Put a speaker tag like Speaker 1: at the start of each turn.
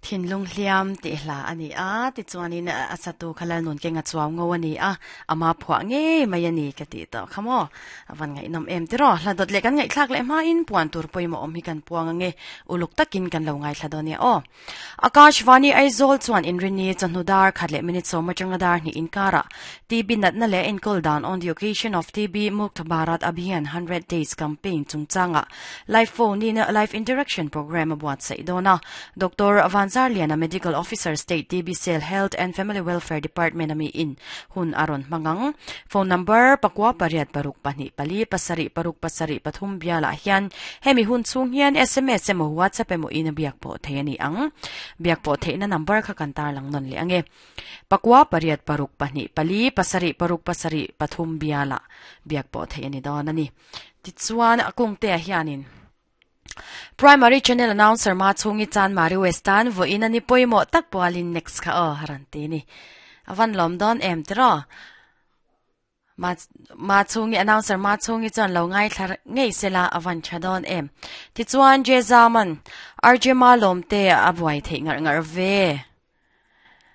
Speaker 1: Thinlung hliam tih hla a ni a, tichuanin a satu kha Lalnun Kenga chuau ngo a ni a, ama phuah ngei mai a ni ka tih tawh kha maw? A van ngaihnawm em tiraw? Hla dawt leh kan ngaihthlak leh hmain puan tur pawimawh awm hi kan puang ange, uluk takin kan lo ngaithla dawn nia aw. Akashvani Aizawl chuan inrinni chawhnu dar khat leh minute sawm atanga dar hnih inkarah TB natna leh enkawl dan on the occasion of TB Mukt Bharat Abhiyan 100 Days Campaign chungchangah Live phone in live interaction programme a buatsaih dawn a. Doctor Vanzarliana Medical Officer State TB Cell Health and Family Welfare Department ami in hun a rawn hmang ang. Phone number pakua pariat paruk pahnih pali pasarih paruk pasarih pathum bialah hian hemi hun chhung hian sms emaw WhatsApp emaw in a biak pawh thei a ni ang. Biak pawh theihna number kha kan tarlang nawn leh ang e. Pakua pariat paruk pahnih pali pasarih paruk pasarih pathum bialah biak pawh theih a ni dawn a ni. Tichuan a kungte-ah hianin Primary Channel Announcer ma chhungi chan Mari West-a'n vawiin a ni pawimawh tak pualin next kha aw a rawn ti ni. A van lawm dawn em tiraw? Ma ma chhungi announcer ma chhungi chuan lo ngaithla ngei sela a van tha dawn em. Tichuan Jezaman RJ Ma lawmte a buai theih ngarh ngarh ve.